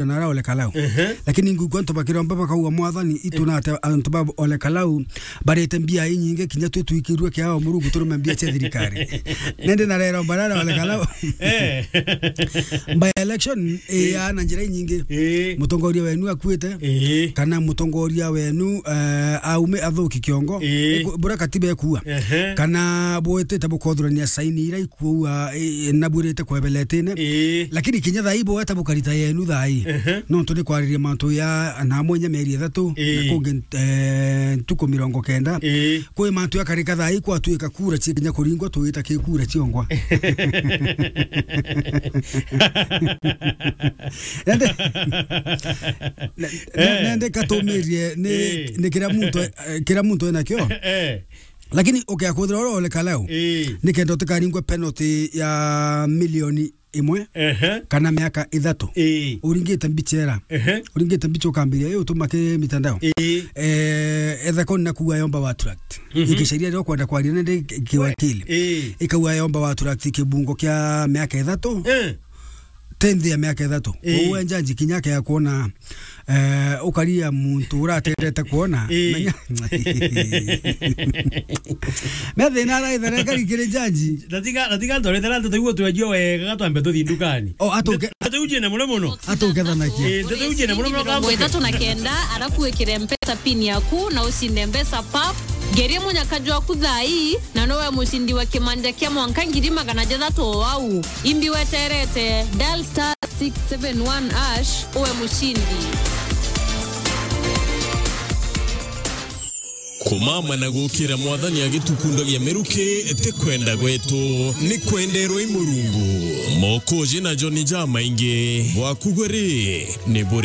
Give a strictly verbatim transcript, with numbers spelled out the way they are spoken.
na ara Ole Kalau. Ehe. Lakini ngwigua antu bakiromba bakauga, "Mwathani, itu na ate antu ba Ole Kalau barite mbia inyingi kinya twi twikirue kiao Murungu turume mbia cia thirikari." Nende na rero barara Ole Kalau. Eh. By election, eh, ya na njira inyingi. Eh. Mutongoria wenu akuite. Eh. Kana mutongoria wenu, eh, aume athuki kiongo. Eh. Iku-, bura katiba ekua. Ehe. Kana bwetete bukothurania saini ira kuua, eh, na bwirite kwebeletene. Ii. Lakini kinya thaa ii bweta bukarita yenu thaa ii. Ehe. Nontu ni kwariria mantu ya na mwenya mieri ithatu, ii, na kungi, eh, ntuku mirongo kenda. Ii. Kwi mantu yakarika thaa ii kwatuika kura cia kinya kuringwa tuita ki kura ciongwa. Nende, ne-, ne-, eh, nende katumirie ni, ii, ni kira muntu, eh, kira muntu enakio. Eh. Lakini ukiakuthira uria Ole Kalau, ii, nikenda utikaringwe penalty ya milioni imwe, ehe, kana miaka ithatu. Ii. Uringite mbicha era. Ehe. Uringite mbicha ukambiria, ii, utuma ki mitandao. Ii. Eh, etha koni na kuga yomba wa tract. Mhm. Ikicaria rio kwenda kwaria nende ki-, kiwakili. Ii. Ikauga yomba wa tract kibungo kia miaka ithatu. Eh. Tenthi ya miaka ithatu. Ii. Uwe njanji kinya akea kuona, eh, ukaria muntu uratendete kuona. Ii. Menya. Methina araithera kari kiri njanji. Natiga, natiga ndorethera ndeto iu utwenjio wega gatwambe tuthi ndukani. O, atuke. Ndeto iu ciene muno muno. Atuke thanakia. Ii, ndeto iu ciene muno muno. Mirongo ithatu na kenda, arafu wikire mpesa pin yaku na ucinde mbeca pap. Ngeria munyaka jwaku thaa ii, na nowe mucindi wa kimanja kia mwanka ngiri magana jathatu o au. Imbi weterete, dial star six seven one hash, uwe mucindi. Kumama na gukira Mwathani agitukundagia miruki ti kwenda gwetu, ni kwenderwa i Murungu. Mokoji na Joni jamaingi, bwaku gwe ri, ni buri